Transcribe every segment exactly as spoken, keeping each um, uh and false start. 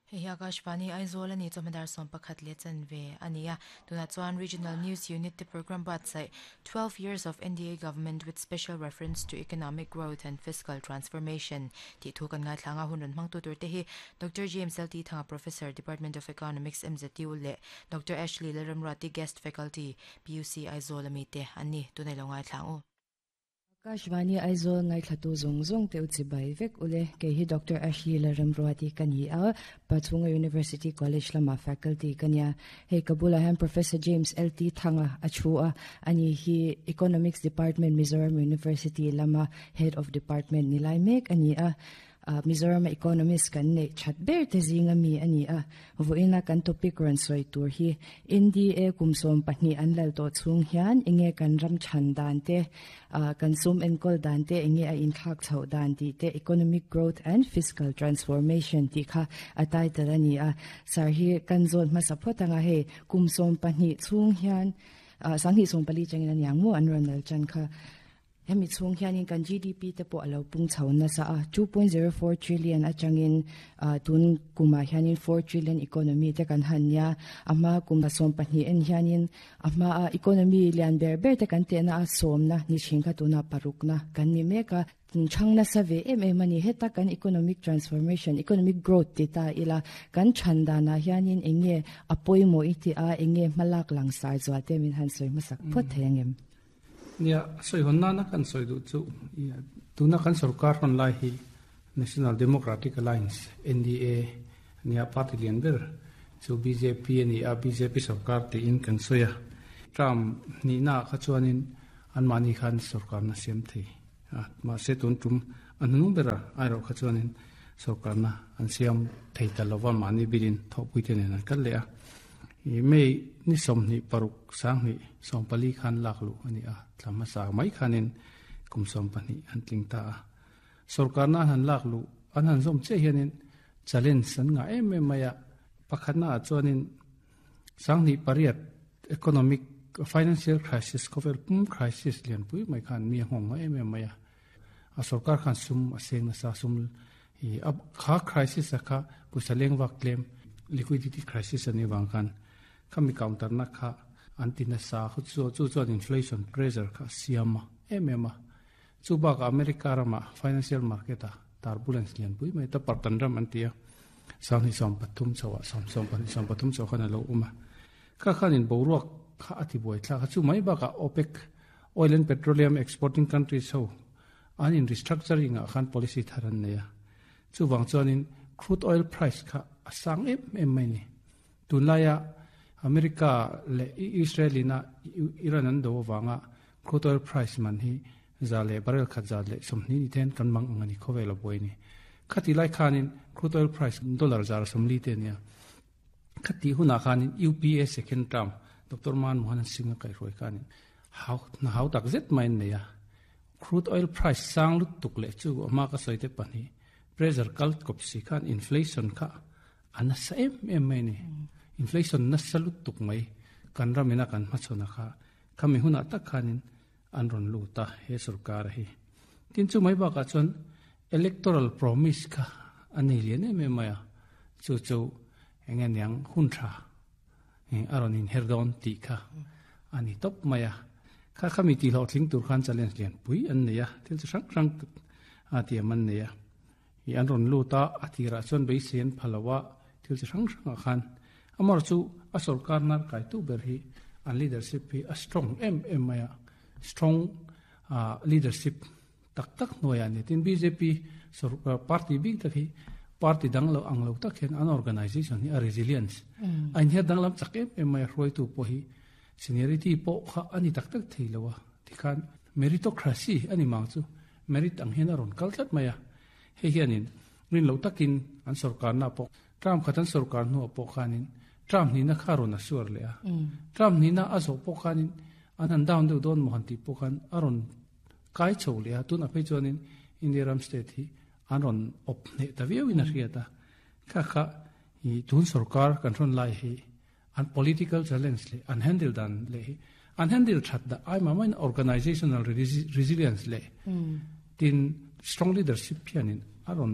Hei hi Akashvani Aizawl ani chawhma dar sawm pakhat leh chanve a ni a. Tunah chuan Regional News Unit te program buatsaih Twelve Years of NDA Government with Special Reference to Economic Growth and Fiscal Transformation tih thu kan ngaithlang a hun rawn hmangtu tur te hi Doctor James LT Thanga Professor Department of Economics MZU leh Doctor Ashley Lalramruati Guest Faculty PUC Aizawl ami te an ni. Tunah i lo ngaithlang u. Akashvani Aizawl ngaithlatu zawng zawng te u chibai vek ule kei hi Doctor Ashley Lalramruati ka ni a, Pachhunga University College lama faculty ka nia. Hei ka bulah hian Professor James LT Thanga a thu a, ani hi Economics Department Mizoram University lama Head of Department ni lai mek a ni a. Mizoram economist kan neih that ber te zinga mi a ni a. Vawiina kan topic rawn sawi tur hi NDA kum sawm pahnih an lal tawh chhung hian enge kan ram chhan dan te, kan sum enkawl dan te enge a inthlak chhoh dan tih te Economic Growth and Fiscal Transformation tih kha a title a ni a. Sir hi kan zawn hmasa phawt anga hei kum sawm pahnih chhung hian sanghnih sawm pali changin a niang maw an rawn lal tan kha. Hemi chhung hianin kan GDP te pawh a lo pung chho nasa a, two point zero four trillion atangin tun kumah hianin four trillion economy te kan han nia. A hma kum sawm pahnih en hianin a hma a economy lian ber ber te kan tehna a sawmna ni thin kha tuna parukna kan ni mek a. Chhang nasa ve em em a ni. Heta kan economic transformation, economic growth ti ta ila kan chhan danah hianin eng nge a pawimawh i ti a, eng nge hmalak langsar zual te min han sawi hmasak phawt thei ang em? Nia, sawi hawn nana kan sawi duh chu tuna kan sarkar rawn lai hi National Democratic Alliance, NDA, nia party lian ber chu BJP a ni a, BJP sarkar tiin kan sawi a. Term hnihna kha chuanin anmahni khan sarkarna siam thei a, mahse tun tum a hnung bera airawh kha chuanin sarkarna an siam thei ta lova mahni bilin thawhpui te nen an kal leh a. May ni sawmhnih paruk sanghnih sawm pali khan lak luh a ni a, thla hmasa mai khanin kum sawm pahnih an tling ta a. Sarkarna an han lak luh an han zawm chiah hianin challenge an ngah em em mai a, pakhatna ah chuanin sanghnih pariat economic financial crisis khawvel pum crisis lianpui mai khan mi a nghawng em em mai a. A sarkar khan sum a seng nasa sum a kha crisis a kha pawisa lengvak tlem liquidity crisis ani wang khan khami counter na kha an ti nasa khu chu chu chuan inflation pressure kha siama em em a. Chu bak America rama financial market a turbulence lian pui mai ta partan ram an tia sangni som pathum chawa som som pahnih som pathum chaw khan alo uma kha khanin boruak kha ati buai thla kha chu mai baka OPEC oil and petroleum exporting countries ho an in restructuring a khan policy tharan neia chu wang chuanin crude oil price kha asang em em mai ni tunlaia America le Israelina Iran an do wanga crude oil price man hi za le barrel khat za le somni ni ten kan mang angani khowela boi ni khati lai khanin crude oil price dollar zar somli te nia khati huna khanin UPA second term Dr. Manmohan Singh kai roi kanin how na how tak zet mai ne ya crude oil price sang lut tuk le chu ama ka soite pani pressure kal kop si khan inflation kha ana sa em em mai ni inflation na salut tuk mai kan ramina kan machona kha khami huna tak khanin an ron lu ta he sarkar hi tin chu mai ba ka chuan electoral promise kha ani lian em em maya chu chu enga niang hun tha aron in herdon ti kha ani top maya kha khami ti lo thling tur khan challenge lian pui an neia thil chu rang rang a ti man neia i an ron lu ta atira chuan bei sen phalawa thil chu rang rang khan amar chu a sarkar nar kai tu ber hi an leadership hi a strong em em maya strong uh, leadership tak tak noya ni tin BJP sarkar party big tak hi party dang lo ang lo tak hian an organization hi a resilience ain he dang lam chak em em mai hroi tu po hi seniority po kha ani tak tak thei lowa tikhan meritocracy ani mang chu merit ang hian aron kal tlat maya he hianin rin lo takin an sarkar na po tram khatan sarkar nu po khanin tram ni na kharon a suar le a tram ni na azo po khanin an han down deuh don mohan ti po khan aron kai chho le a tun a phei chuanin India ram state hi aron op ne ta viau in a hriata kha kha hi tun sarkar kan ron lai hi an political challenge le an handle dan le hi an handle that da ai ma main organizational resilience le tin strong leadership hianin aron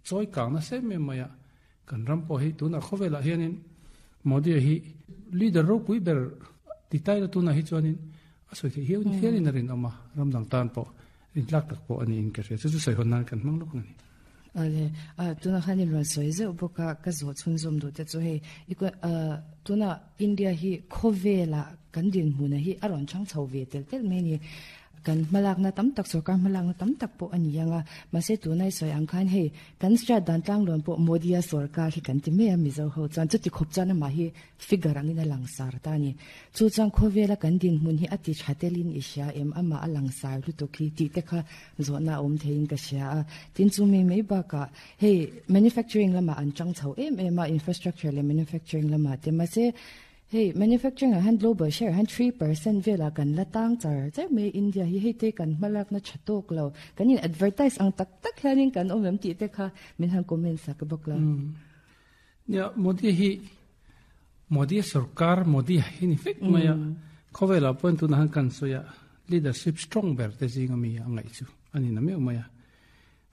choi kang na se me maya Kan ram po hi tuna khovela hianin Modi hi leader ro pui ber ti tai la tuna hi chuanin a soi the hian hian rin ama ram dang tan po rin tlak tak po ani in ka hria chu chu soi hon nan kan mang lok ani. Ale a tuna khanin ron soi ze boka ka zo chun zum du te chu hei iko tuna India hi khovela kan din hmuna hi aron chang chho ve tel tel me ni kan malak na tam tak sarkar malak na tam tak po ani anga ma se tu nai soi ang khan hei kan stra dan tlang lon po Modi a sarkar hi kan ti me a mizo ho chan chu ti khop chan ma hi figure angin a langsar ta ni chu chang khovela kan din hmun hi ati thatelin isha em ama a langsar lu to khi ti te kha zo na om thein ka sha a tin chu mi mei ba ka hei manufacturing lama an chang chho em em a infrastructure le manufacturing lama te ma se hey manufacturing han global share han three percent vela kan latang char char me India hi hei te kan malak na chatok lo kan in advertise ang tak tak hianin kan omem ti te kha min han comment sak bok la. Ya Modi hi Modi sarkar Modi hi ni fek maya khovela point tu na han kan soya leadership strong ber te zinga mi angai chu ani na me maya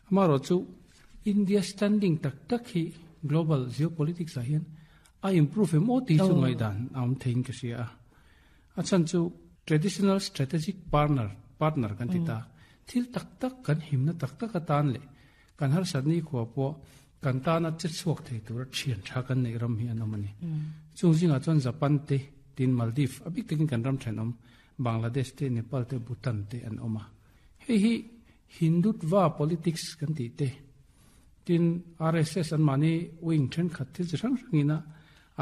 amaro chu India standing tak tak hi global geopolitics a hian a improve mo ti chu ngai dan am thein ka sia a chan chu traditional strategic partner partner kan ti ta thil tak tak kan himna tak tak atan le kan har sadni khuwa po kan ta na che chuak thei tur thian tha kan nei ram hi anamani chung zinga chuan Japan te tin Maldives abik takin kan ram thanom Bangladesh te Nepal te Bhutan te an oma hei hi Hindutva politics kan ti te tin R S S an mani wing then khat thil chi hrang hrangina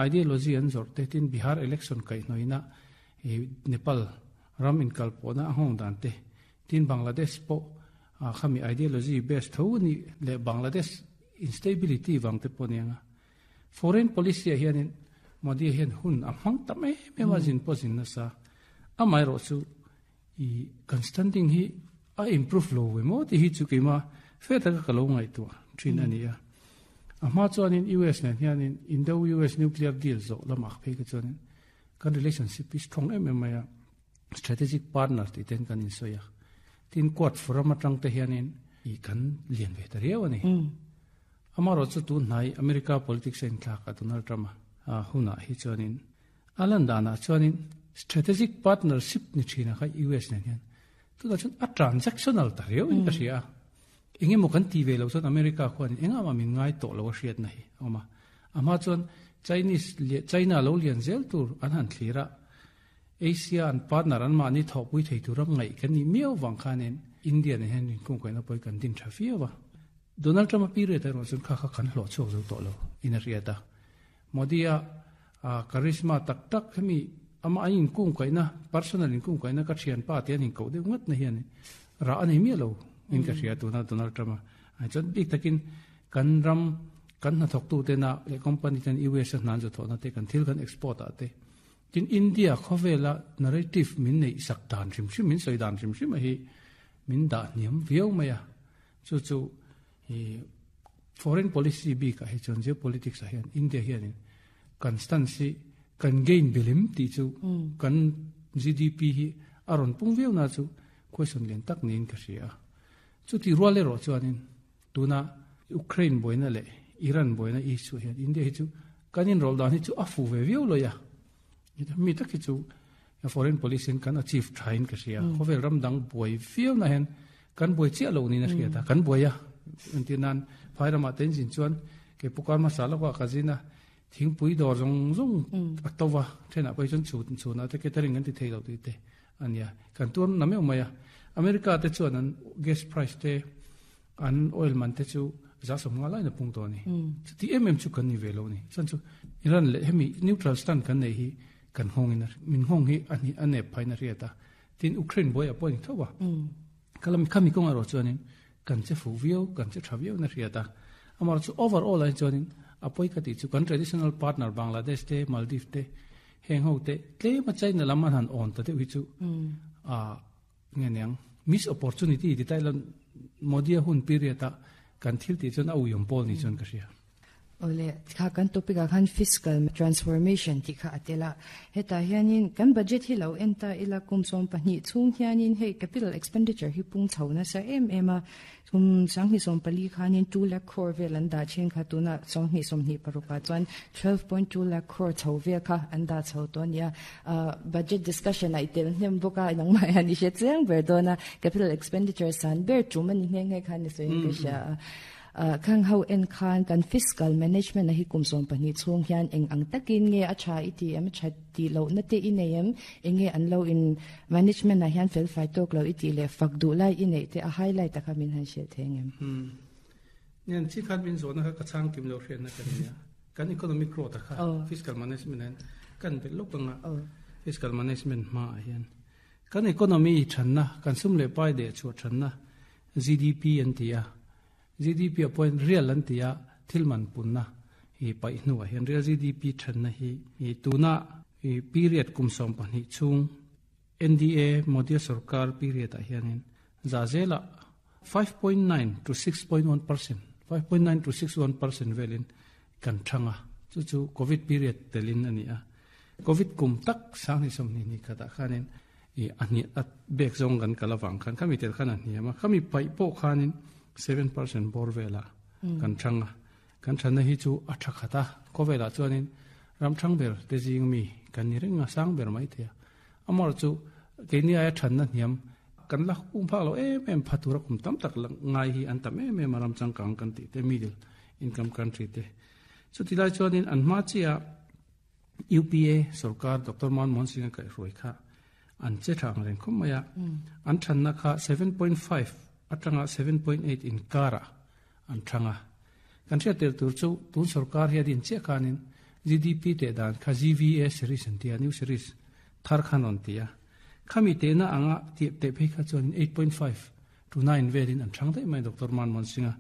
ideology an zor te tin Bihar election kai noina e Nepal ram in kalpona hong dan te tin Bangladesh po khami ideology best tho ni le Bangladesh instability wang te ponianga foreign policy hianin Modi hian hun a hmang ta me me wa jin po jin na sa amai ro chu i constanting hi a improve lo we mo ti hi chu keima fe ta ka lo ngai tu thin ania ama chuanin U S nen hianin Indo U S nuclear deal zo lama phei ka chuanin kan relationship is strong em em maya strategic partner ti ten kan in soya tin quad forum atang te hianin i kan lian ve ta riau ani ama ro chu tu nai America politics en thla ka Donald Trump a huna hi chuanin alan dana chuanin strategic partnership ni thina kha U S nen hian tu da chuan a transactional ta riau in ka ria enge mo kan ti ve lo chuan America khuan enga ma min ngai to lo hriat na hi oma ama chuan Chinese China lo lian zel tur an han thlira Asia an partner an ma ni thopui thei turam ngai kan ni miau wang khanen India ne hen kung kaina poi kan din thafia wa Donald Trump pi re ta ro chun kha kha kan hlo chok zo to lo ina ria ta Modi a charisma tak tak hemi ama in kung kaina personal in kung kaina ka thian pa te an ko de ngat na hian ra ani mi lo in ka ria tu na Donald Trump a chon bik takin kan ram kan na thok tu te na le company ten U S nan zo tho na te kan thil kan export a te tin India khovela narrative min nei sak dan rim sim min soi dan rim sim hi min da niam viau maya chu chu hi foreign policy bi ka he chon geopolitics a hian India hian constancy kan gain bilim ti chu kan G D P hi aron pung viau na chu question len tak nin ka ria chu ti ruale ro chuanin tuna Ukraine boina le Iran boina issue hian India hi chu kanin rol dan hi chu afu ve viau lo ya mi tak hi chu foreign policy kan achieve thain ka ria khovel ram dang boi viau na hen kan boi chi lo ni na ria ta kan boya antinan phairama ten jin chuan ke pukar masala kwa kazina thing pui dor jong jong atawa thena poi chon chu chu na te catering an ti thei lo ti te ania kan tuam na me umaya America te chuan an gas price te an oil man te chu za som nga lai na pung to ni ti em em chu kan ni ve lo ni chan chu Iran le hemi neutral stand kan nei hi kan hong in min hong hi ani ane phaina ria ta tin Ukraine boy apoin thowa kalam khami kong aro chuanin kan che fu viau kan che thaviau na ria ta amar chu overall ai chuanin apoi ka ti chu kan traditional partner Bangladesh te Maldives te heng ho te tle ma China laman han on ta te wi chu a nge miss opportunity ti tai lan Modi hun period ta kan thil ti chon au yom pol ni chon ka ria. Ole kha kan topic a khan fiscal transformation ti kha atela heta hianin kan budget hi lo enta ila kum som pahnih chung hianin hei capital expenditure hi pung chhona sa em em a kum sang ni som pali khanin two lakh crore vel an da chen kha tuna song ni som ni paruka chuan twelve point two lakh crore chho vel kha an da chho to nia budget discussion ai tel hnem boka nang mai ani she cheng ber dona capital expenditure san ber chumani nge nge khan ni soin ka sha khang ho en khan kan fiscal management na hi kum som pahnih chung hian eng ang takin nge a tha iti em tha ti lo na te in em enge an lo in management na hian fel fai tok lo iti le fak du lai in te a highlight taka min han she theng em hmm nian chi khat bin zo na ka chang kim lo hrian na kan nia kan economic growth kha fiscal management an kan be lo kanga fiscal management ma hian kan economy thanna kan sum le pai de chu thanna G D P an tia G D P point real an tia thilman punna hi pai hnuwa hian real G D P thanna hi hi tuna hi period kum som pahnih chung N D A Modi sarkar period a hianin zazela five point nine to six point one percent five point nine to six one percent velin kan thanga chu chu covid period telin ani a covid kum tak sang ni som ni ni khata khanin i ani at bek zong kan kalawang khan khami tel khan ani ma khami pai po khanin seven percent bor vela kan thanga kan thana hi chu atha khata ko vela chuanin ram thang ber te jing mi kan ni renga sang ber mai thea amor chu keni aya thanna niam kan la um pha lo em em phatura kum tam tak ngai hi an tam em em ram chang kang kan ti te middle income country te chu tilai chuanin an ma chia U P A sarkar Doctor Manmohan Singh kai roi kha an che thang reng khom maya an thanna kha seven point five atanga seven point eight in kara an thanga kan thia tel tur chu tun sarkar hi adin che khanin G D P te dan kha G V A series an tia new series thar khan on tia khami te na anga ti te phei kha chuan eight point five to nine velin an thang dai mai Doctor Manmohan Singh